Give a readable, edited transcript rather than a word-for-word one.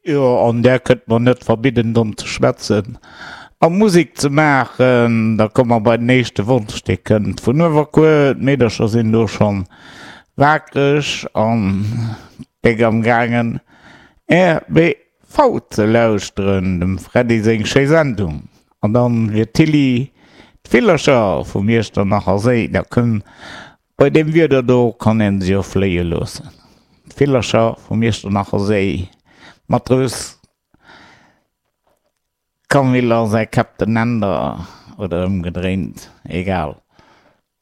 Jo, an där kënnt mer net verbidden domm ze schwätzen a Musek ze maachen. Da komme mer bei den éischte Wonsch, dee kënnt vun Uewerkuer. D'Meedercher sinn do schonn waakreg an déck am gaangen RBV ze lauschteren, dem Freddy seng schéi Sendung. An dann fir d'Tilly d'Villercher vum Iechternacher Séi. Da kënn Bei deem Wieder do kann een se jo fléie loossen, d'Villercher vum Iechternacher Séi. Matrous Camille a säi Captain Änder, oder ëmgedréint, egal.